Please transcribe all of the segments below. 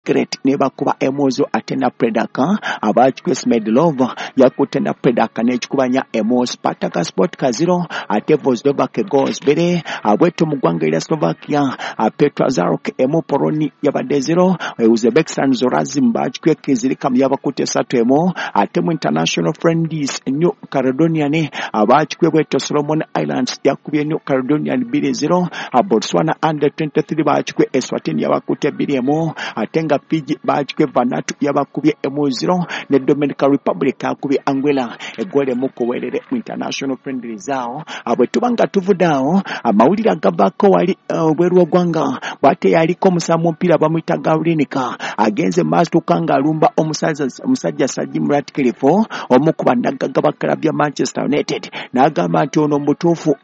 Ludogorets nebakuba 1-0 ate Napredak abakikwe Smedlov yakutte Napredak n'ekikubanya 1 Spartak Sport 0 ate Vozdovak goals 2 abweto mu ggwanga erya Slovakia Petra Zarok 1 Poloni yabadde 0 Uzbekistan Zorazim bakikwe Kizirikam yabakutte 3-1 ate mu International Friendlies New Caledonian abakikwe bweto Solomon Islands yakubye New Caledonian 2-0 Botswana under 23 bakikwe Eswatini yabakutte 2-1 ate nga Fiji bakikwe Vanuatu yabakubye 1-0 ne Dominican Republic akubye Angola eggoolo 1 kuwerere mu International Friendlies awo. Bwe tuba nga tuvudde awo amawulire agavaako wali obweru w'eggwanga bw'ate yaliko omusambi w'omupiira bamuyita Gawlinika agenze maaso nga alumba omusajja Sir Jim Ratcliffe omu ku bannagagga ba club ya Manchester United n'agamba nti ono mutuufu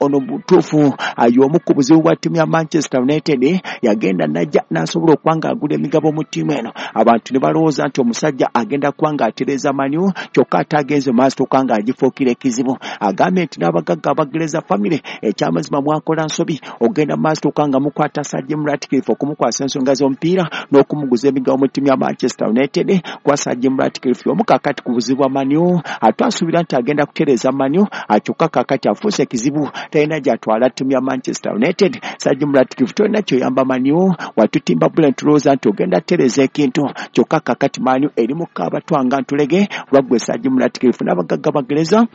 y'omu ku buzibu bwa ttiimu ya Manchester United yagenda najja n'asobola okuba ng'agula emigabo mu ttiimu eno abantu ne balowooza nti omusajja agenda kuba ng'atereeza Man U kyokka ate agenze maaso ng'agifuukira ekizibu. Agambye nti n'abagagga abagereza family ekyamazima mwakola nsobi ogenda maaso nga mukwata Sir Jim Ratcliffe okumukwasa ensonga z'omupiira n'okumuguza emigabo mu ttiimu ya Manchester United kwa Sir Jim Ratcliffe omu kaakati ku buzibu bwa Man U ate asuubira nti agenda kutereeza Man U kyokka kaakati afuuse ekizibu talina gy'atwala ttiimu ya Manchester United. Sir Jim Ratcliffe tolina kyoyamba Man U watutimba bula ntulowooza nti ogenda kutereeza ekintu kyokka kaakati Man U eri mu kaabatwanga ntulege lwaggwe Sir Jim Ratcliffe n'abagagga bagereza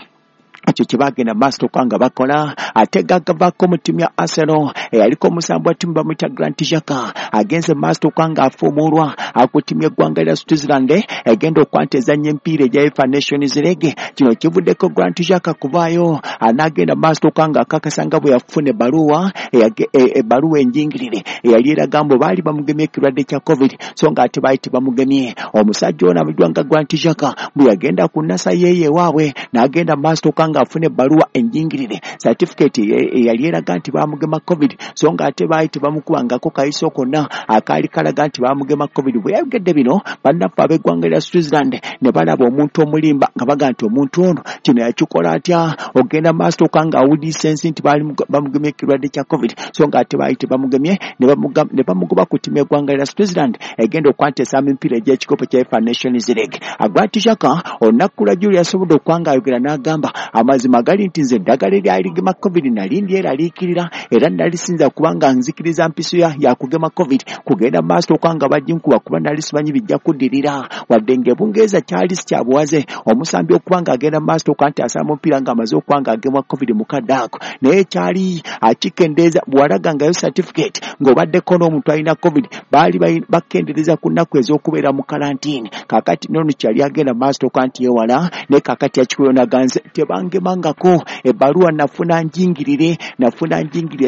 ekyo kye bagenda maaso nga bakola. Ate gagavaako mu ttiimu ya Arsenal eyaliko omusambi wa ttiimu bamuyita Grant Xhaka agenze maaso nga afuumuulwa ku ttiimu y'eggwanga lya Switzerland egenda okuba nti ezannya emipiira egya UEFA Nations League. Kino kivuddeko Grant Xhaka kuvaayo n'agenda maaso nga akakasa nga bwe yafuna ebbaluwa enjingirire eyali eraga mbu baali bamugemye ekirwadde kya COVID so nga ate baali tebamugemye. Omusajja ono amanyiddwa nga Grant Xhaka bwe yagenda ku nnasa yeeyo ewaabwe n'agenda maaso nga afuna ebbaluwa enjingirire certificate eyali eraga nti baamugema COVID so nga ate baali tebamukubangako kayiso konna akaali kalaga nti baamugema COVID. Bwe yayogedde bino bannaffe ab'eggwanga lya Switzerland ne balaba omuntu omulimba nga baga nti omuntu ono kino yakikola atya ogenda maaso nga awuliisa ensi nti baali bamugemye ekirwadde kya COVID so nga ate baali tebamugemye ne bamugoba ku ttiimu y'eggwanga lya Switzerland egenda okuba nti esamba emipiira egy'ekikopo kya UEFA Nations League. Grant Xhaka olunaku lwa jjuuli yasobodde okuba ng'ayogera n'agamba amazima gali nti nze eddagala eryali ligema COVID nali ndyeraliikirira era nali sinza kubanga nzikiriza mpiso yakugema COVID kugenda maaso nga baginkuba kuba nali simanyi bijja kuddirira wadde ng'ebungereza kyali si kya buwaze omusambi okuba ng'agenda maaso nti asamba omupiira ng'amaze okuba ng'agemwa COVID mu kadde ako naye kyali akikendeeza bw'walagangayo certificate ng'obaddeko n'omuntu alina COVID baali bakendeereza ku nnaku ez'okubeera mu kalantiini. Kaakati nono kyali agenda maaso nti yeewala naye kaakati yakikuyonaganze tebangemangako ebbaluwa nafuna njingirire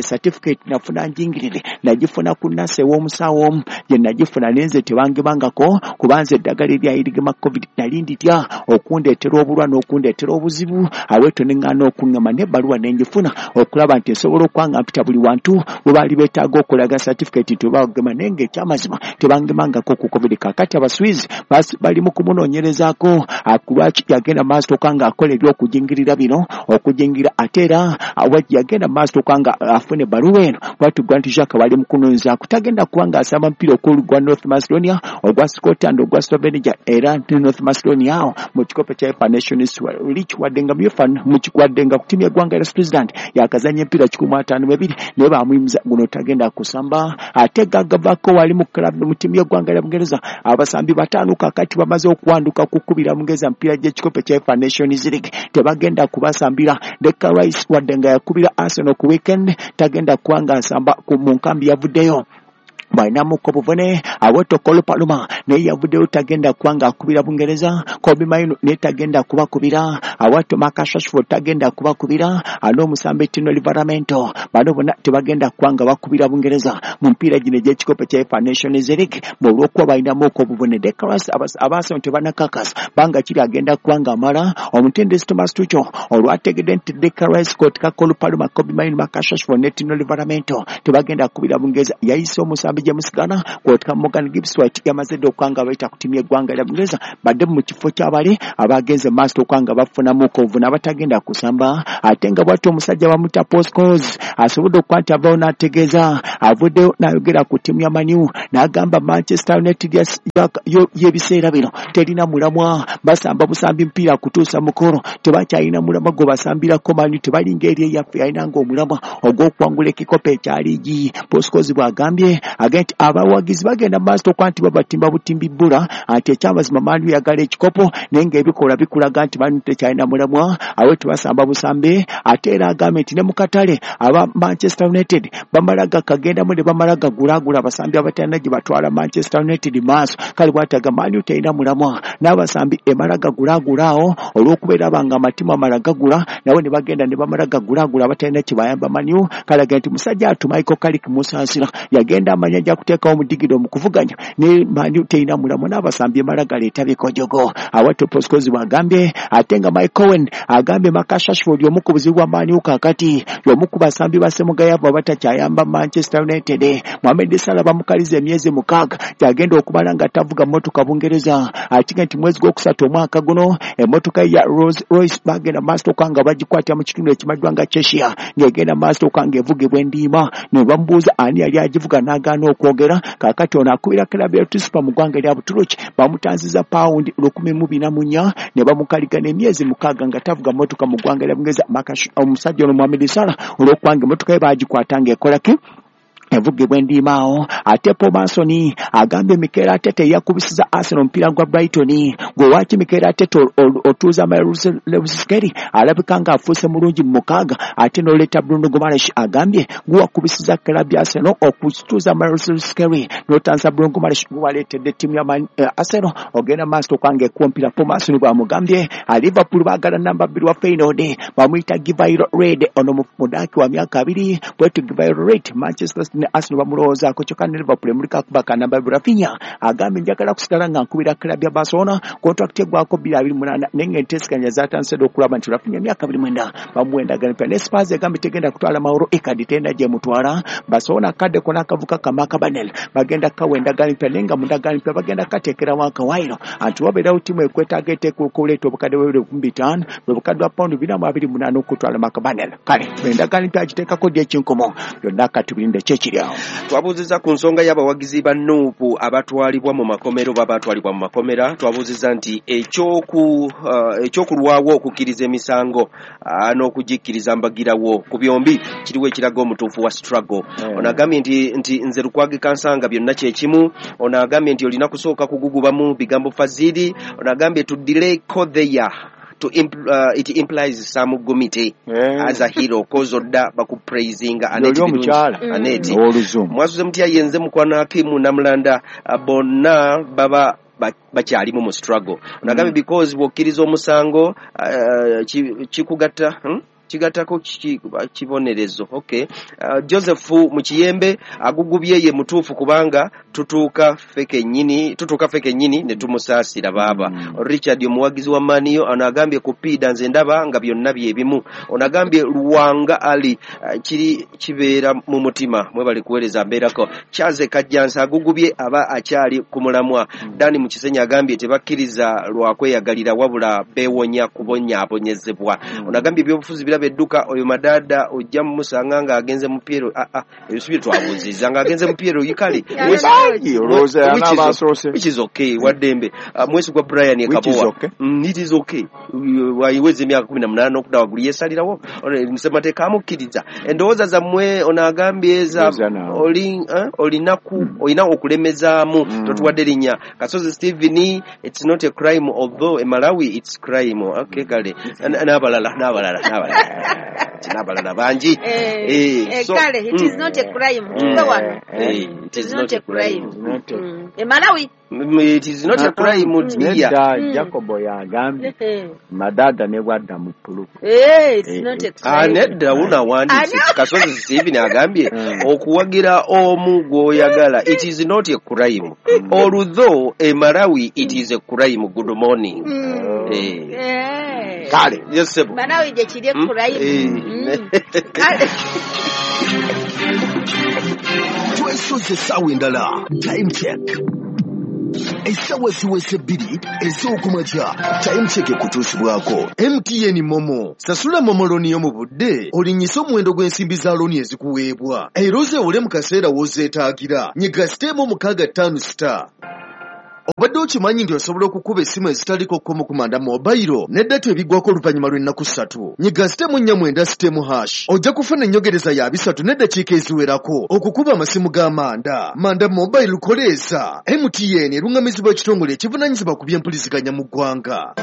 certificate nafuna njingirire nagifuna ku nnasa ew'omusawo omu gye nagifuna nenze tebangemangako kubanze eddagala eryayirigema COVID nali nditya okundeetera obulwa n'okundeetera obuzibu aweeto ne ŋŋaana okuŋŋama n'ebbaluwa ne ngifuna okulaba nti nsobola okuba nga mpita buli wantu bwe baali beetaaga okulaga certificate nti bagema naye ng'ekyamazima tebangemangako ku COVID. Kaakati Abaswizi bali mu kumunoonyerezaako lwaki yagenda maaso ng'akola eby'okujingirira bino okujingira ate era yagenda maaso nga afuna ebbaluwa eno bwatu Grant Xhaka bali mu kunoonyerezaako tagenda kuba ng'asamba mupiira ogwa North Macedonia ogwa Scotland ogwa Slovenia era ne North Macedonia awo mu kikopo kya UEFA Nations League wadde nga mu UEFA wadde nga ku ttiimu y'eggwanga lya Switzerland yakazannya emipiira 152 naye baamuyimiza guno tagenda kusamba. Ate gagavaako wali mu club mu ttiimu y'eggwanga lya Bungereza abasambi 5 kaakati bamaze okuwanduka kukubira Bungereza emipiira gy'ekikopo kya UEFA Nations League tebagenda kubasambira. Declan Rice wadde nga yakubira Arsenal ku weekend tagenda kuba ng'asamba mu nkambi yavuddeyo bw'alinamuko obuvune. Awoto Cole Palmer naye yavuddeyo tagenda kuba ng'akubira Bungereza. Kobbie Mainoo naye tagenda kubakubira. Awato Marcus Rashford tagenda kubakubira. N'omusambi Tino Livramento bano bonna tebagenda kuba nga bakubira Bungereza mu mpiira gino egy'ekikopo kya UEFA Nations League olw'okuba balinamuko obuvune. Declan Rice Abaarsenal tebannakakasa banga kiri agenda kuba ng'amala. Omutendesi Thomas Tuchel olwategedde nti Declan Rice Scott Cole Palmer Kobbie Mainoo Marcus Rashford ne Tino Livramento tebagenda kukubira Bungereza yayise omusambi James Garner kwotka Morgan Gibbs White yamaze dda okubanga bayita ku ttiimu y'eggwanga lya Bungereza badde mu kifo ky'abali abagenze maaso okubanga bafunamu kovuna abatagenda kusamba. Ate nga bw'atyo omusajja bamuyita Paul Scholes asobodde okuba nti avaayo n'ategeeza, avuddeyo n'ayogera ku ttiimu ya Man U n'agamba Manchester United y'ebiseera bino terina mulamwa, basamba busambi mpiira kutuusa mukolo, tebakyalina mulamwa gwe basambirako Man U, tebalinga eri eyaffe yalinanga omulamwa ogw'okuwangula ekikopo ekya liigi. Paul Scholes bw'agambye agambye nti abawagizi bagenda mu maaso okuba nti babatimba butimbi bbula, nti ekyamazima Man U eyagala ekikopo naye ng'ebikolwa bikulaga nti Man U tekyalina mulamwa, awo tebasamba busambi. Ate era agambye nti ne mu katale aba Manchester United bamala gakagendamu ne bamala gagulaagula abasambi abatalina gye batwala Manchester United maaso. Kale bw'atyo agamba Man U terina mulamwa n'abasambi emala gagulaagula awo olw'okubeera banga amatimu amala gagula nabo ne bagenda ne bamala gagulaagula abatalina kye bayamba Man U. Kale agamba nti musajja atu Michael Carrick musaasira yagenda amanya ajja kuteekawo omudigida omukuvuganya ne Man U terina mulamwa n'abasambi emala galeeta bikojogo. Awatyo Paul Scholes bw'agambye. Ate nga Mike Owen agambye Marcus Rashford y'omu ku buzibu bwa Man U kaakati, y'omu ku basambi ba Ssemugayavu abatakyayamba Manchester United. Mohamed Salah bamukaliza emyezi 6 gy'agenda okumala nga tavuga mmotoka Bungereza. Akiga nti mwezi gwokusatu omwaka guno emmotoka ya Rolls Royce bagenda maaso okuba nga bagikwatira mu kitundu ekimanyiddwa nga Cheshire ng'egenda maaso okuba ng'evugibwa endiima, ne bamubuuza ani yali agivuga n'agaana okwogera. Kaakati ono akubira club ya Tuspa mu ggwanga lya Buturuki bamutanziza pawundi 1,044 ne bamukaliga n'emyezi 6 nga tavuga mmotoka mu ggwanga lya Bungereza. Omusajja ono Mohamed Salah olw'okubanga emmotoka ye baagikwata ng'ekola ki evugibwa endiima awo. Ate Paul Merson agambye Mikel Arteta eyakubisiza Arsenal omupiira gwa Brighton, gwe waaki Mikel Arteta otuuza Miles Lewis-Skelly alabika ng'afuuse mulungi mu 6, ate n'oleeta Bruno Guimaraes. Agambye guwakubisiza club ya Arsenal okutuuza Miles Lewis-Skelly n'otanza Bruno Guimaraes guwaleetedde ttiimu ya Arsenal ogenda maaso okubanga ekuwa omupiira. Paul Merson bw'amugambye. Liverpool baagala namba 2 wa Feyenoord bamuyita Givairo Red, ono mudaaki wa myaka 2 bwetyo Givairo Red Manchester City ne Arsenal bamulowoozaako, kyokka ne Liverpool emuliko akuba ka namba Rafinha agambye njagala kusigala nga nkubira club ya Barcelona, contract eggwako 2028 naye ng'enteeseganya zaatandise dda okulaba nti Rafinha emyaka 29 bamuwa endagaano empya. Ne Spurs egambye tegenda kutwala Mauro Icardi, terina gy'emutwala. Barcelona akaddeko n'akavuka ka Marc Banel bagenda kukawa endagaano empya, naye nga mu ndagaano empya bagenda kukateekerawo akawaayiro anti wabeerawo ttiimu ekwetaaga eteekwa okuleeta obukadde bwa 2,500 bwe bukadde bwa pawundi 428 okutwala Marc Banel. Kale endagaano empya agiteekako ddi ekinkumu byonna katubirinde kyekiri awo. Twabuuzizza ku nsonga y'abawagizi ba Nuupu abatwalibwa mu makomera oba abatwalibwa mu makomera. Twabuuzizza nti ekyokulwawo okukkiriza emisango n'okugikkiriza mbagirawo ku byombi kiriwo ekiraga omutuufu wa struggle. Ono agambye nti nze Lukwago Kansanga byonna kye kimu. Ono agambye nti olina kusooka kugugubamu bigambo Fazili. Ono agambye to delay there to it implies some gumite as a hero cause odda bakupraisinga Aneti Aneti mwasuze mutya yenze mukwano Hakimu Namulanda bonna baba bakyalimu mu struggle. Onagambye because bw'okkiriza omusango kikugatta kigattako kibonerezo. Okay. Joseph Mukiyembe agugubye ye mutuufu kubanga tutuuka ffe kennyini ne tumusaasira baaba. Richard omuwagizi wa Maniyo ono agambye ku Piida nze ndaba nga byonna bye bimu. Ono agambye Luwanga Ali kiri kibeera mu mutima mwebale kuweereza mbeerako. Kyaze Kajjansi agugubye aba akyali ku mulamwa. Dani Mukisenyi agambye tebakkiriza lwa kweyagalira wabula beewonya kubonyaabonyezebwa. Ono agambye ebyobufuzi biraba edduka oyo Madada ojja mumusanga ng'agenze mu Piero. Ebyo si bye twabuuzizza ng'agenze mu Piero yikale. Which is okay waddembe. Mwesigwa Brian Ekabowa. It is okay. Wayiweza emyaka 18 okudda waggulu yeesalirawo. Ssemateeka amukkiriza. Endowooza zammwe ono agambye olina okulemezaamu totuwadde linnya. Kasozi Stephen, it's not a crime although in Malawi it's crime. Okay kale. N'abalala n'abalala bangi. Kale it is not a crime. Tuve wano. It is not a crime. E Malawi it is not a crime. Nedda Jacobo yagambye Madada ne bwadda mu puluku. It's not a crime. Nedda unawandiise Kasozi Stephen agambye okuwagira omu gw'oyagala it is not a crime although e Malawi it is a crime. Good morning. Kale yes sebo Malawi gye kiri crime. Kale twesoze essaawa endala time check. Essaawa ziweze 2 ez'okumakya. Time Check ekutuusibwako MTN Momo. Sasula Momo looni yo mu budde, olinnyise omuwendo gw'ensimbi za looni ezikuweebwa, era ozeewole mu kaseera w'ozeetaagira. Nyiga *656*. Obadde okimanyi nti osobola okukuba essimu ezitaliko kkomo ku Manda Mobile ne data ebiggwako oluvannyuma lw'ennaku 3. Nyiga *496#, ojja kufuna ennyogereza ya 3 n'eddakiika eziwerako okukuba amasimu ga Manda. Manda Mobile koleeza. MTN eruŋŋamizibwa ekitongole ekivunaanyizibwa ku by'empuliziganya mu ggwanga.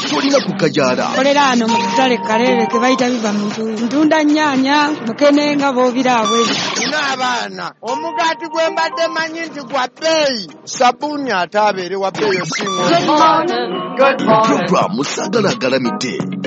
Tolina kukajaala. Kolera ano mu katale Kalere ke bayita biva mu ntuuyo. Ntunda nnyaanya, mukene nga b'obira abwe. Nina abaana, omugaati gwe mbadde manyi nti gwa bbeeyi, sabbuuni ate abeere wa bbeeyi osinga. Programu Saagala Agalamidde